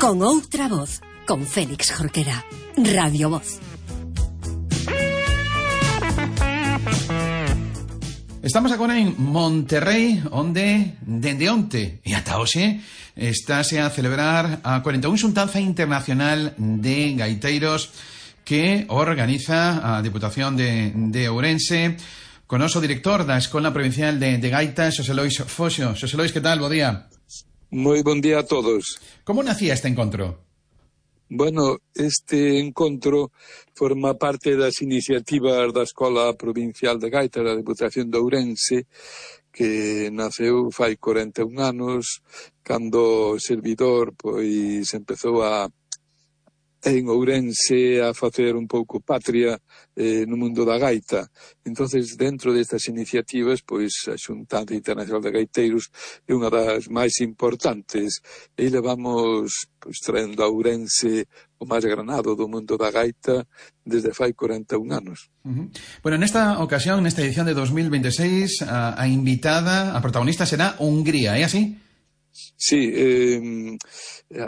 con outra voz, con Félix Jorquera. Radio Voz. Estamos agora en Monterrey, onde, dende onte e ata hoxe, estáse a celebrar a 41 Xuntanza Internacional de Gaiteiros que organiza a Diputación de Ourense, con o director da Escola Provincial de Gaitas, Xosé Lois Foxo. Xosé Lois, que tal? Bo día. Moi bon día a todos. Como nacía este encontro? Bueno, este encontro forma parte das iniciativas da Escola Provincial de Gaitas da Diputación de Ourense, que naceu fai 41 anos, cando o servidor pois empezou en Ourense a facer un pouco patria no mundo da gaita. Entonces, dentro destas iniciativas, pois a Xuntanza Internacional de Gaiteiros é unha das máis importantes. E levamos pois traendo a Ourense o máis granado do mundo da gaita desde fai 41 anos. Bueno, nesta ocasión, nesta edición de 2026, a invitada, a protagonista será Hungría, é así? Sí,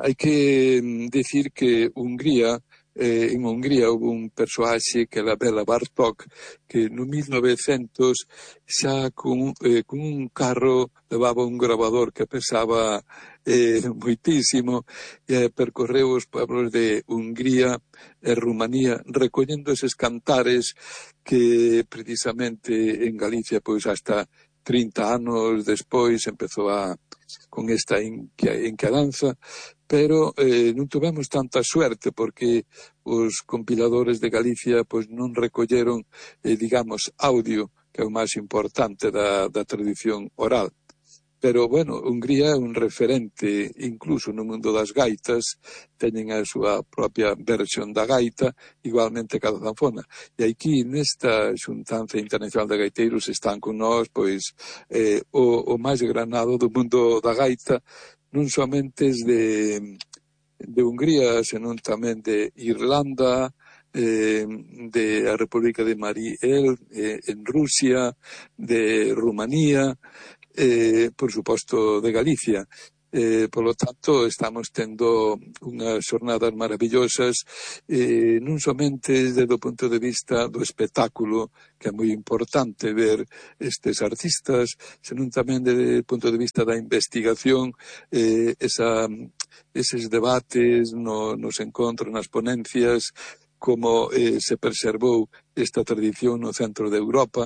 hai que decir que en Hungría houve un persoaxe que era Bela Bartók, que no 1900 xa con un carro levaba un gravador que pesaba moitísimo e percorreu os pueblos de Hungría e Rumanía recollendo eses cantares que precisamente en Galicia pois hasta 30 anos despois empezou con esta inquedanza, pero non tuvemos tanta suerte porque os compiladores de Galicia pois non recolleron, digamos, audio, que é o máis importante da tradición oral. Pero, bueno, Hungría é un referente incluso no mundo das gaitas, teñen a súa propia versión da gaita, igualmente cada zanfona. E aquí, nesta Xuntanza Internacional de Gaiteiros, están con nós, pois, o máis granado do mundo da gaita, non somente de Hungría, senón tamén de Irlanda, de a República de Mariel, en Rusia, de Rumanía, por suposto de Galicia. Polo tanto, estamos tendo unhas xornadas maravillosas, non somente desde o punto de vista do espectáculo, que é moi importante ver estes artistas, senón tamén desde o punto de vista da investigación, eses debates nos encontros, nas ponencias, como se preservou esta tradición no centro de Europa,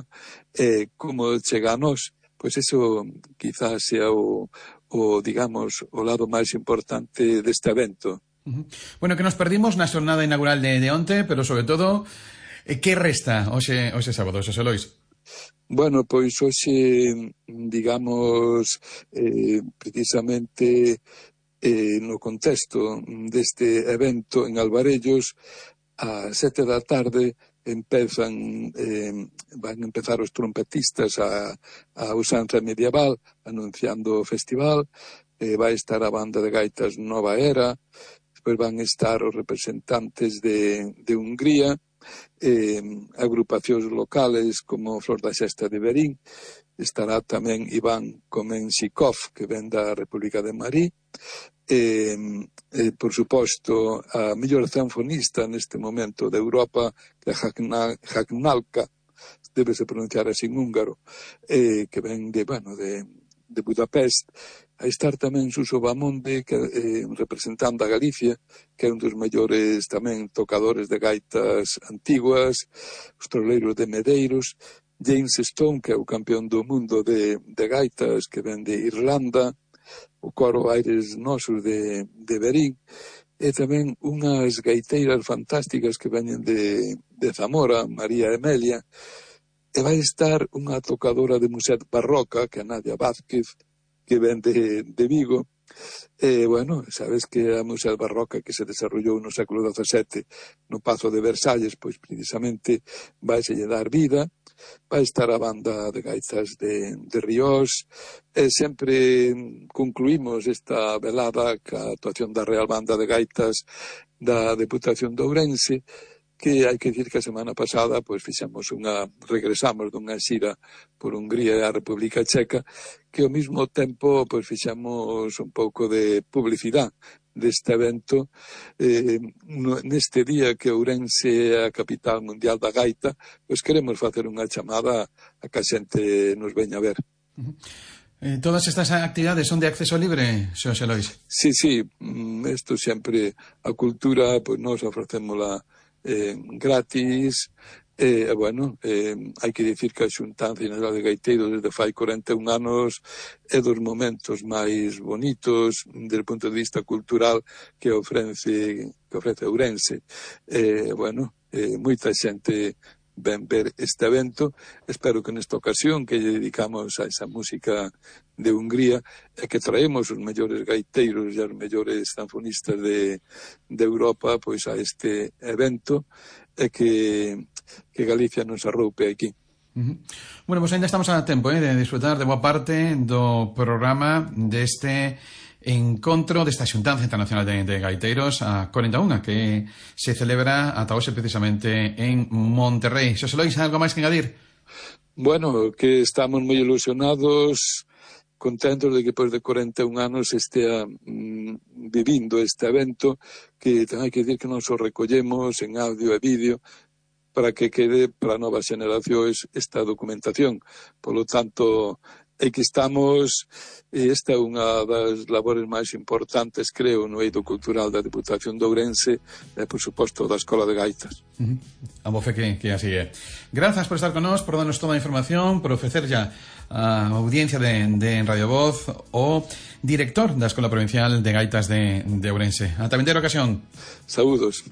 como chega a nós. Pois eso quizás sea digamos, o lado máis importante deste evento. Bueno, que nos perdimos na xornada inaugural de onte, pero sobre todo, que resta hoxe sábado, Xosé Lois? Bueno, pois hoxe, digamos, precisamente no contexto deste evento en Alvarellos, a 7 da tarde, van a empezar os trompetistas a usanza medieval anunciando o festival, vai estar a banda de gaitas Nova Era, despois van estar os representantes de Hungría, agrupacións locales como Flor da Xesta de Verín, estará tamén Iván Komensikov, que ven da República de Mali, por suposto, a mellor zanfonista neste momento de Europa, que é Hagnalka, débese pronunciar así en húngaro, que ven de Budapest. A estar tamén Suso Bamonde, que representando a Galicia, que é un dos mellores tamén tocadores de gaitas antiguas, os troleiros de Medeiros, James Stone, que é o campeón do mundo de gaitas, que ven de Irlanda, o coro Aires Nosos de Verín, e tamén unhas gaiteiras fantásticas que veñen de Zamora, María Emelia, e vai estar unha tocadora de muset barroca, que é Nadia Vázquez, que ven de Vigo. Bueno, sabes que a muset barroca que se desarrollou no século XVII no Pazo de Versalles, pois precisamente vai se lle dar vida. Vai estar a banda de gaitas de Ríos, e sempre concluímos esta velada ca actuación da Real Banda de Gaitas da Deputación de Ourense, que hai que dicir que a semana pasada pois regresamos dunha xira por Hungría e a República Checa, que ao mesmo tempo pois fixamos un pouco de publicidade deste evento neste día que Ourense é a capital mundial da gaita, pois queremos facer unha chamada a que a xente nos veña a ver. Todas estas actividades son de acceso libre, Xosé Lois? Sí, isto sempre, a cultura, pois nós ofrecémola gratis, hai que dicir que a Xuntanza General de Gaiteiros desde fai 41 anos é dos momentos máis bonitos desde o punto de vista cultural que ofrece Ourense. Moita xente ven ver este evento. Espero que nesta ocasión que lle dedicamos a esa música de Hungría e que traemos os mellores gaiteiros e os mellores zanfonistas de Europa pois a este evento e que Galicia nos arroupe aquí. Bueno, pois ainda estamos a tempo de disfrutar de boa parte do programa deste encontro desta Xuntanza Internacional de Gaiteiros a 41 que se celebra ata hoxe precisamente en Monterrey. Xosé Lois, algo máis que engadir? Bueno, que estamos moi ilusionados, contentos de que depois de 41 anos estea vivindo este evento, que hai que dicir que nos o recollemos en audio e vídeo para que quede para novas xeracións esta documentación. Por lo tanto, que estamos, esta é unha das labores máis importantes, creo, no eido cultural da Deputación de Ourense e, por suposto, da Escola de Gaitas. A bofe que así é. Grazas por estar con nós, por darnos toda a información, por ofrecer ya a audiencia de Radio Voz o director da Escola Provincial de Gaitas de Ourense. Ata vindeira ocasión. Saúdos.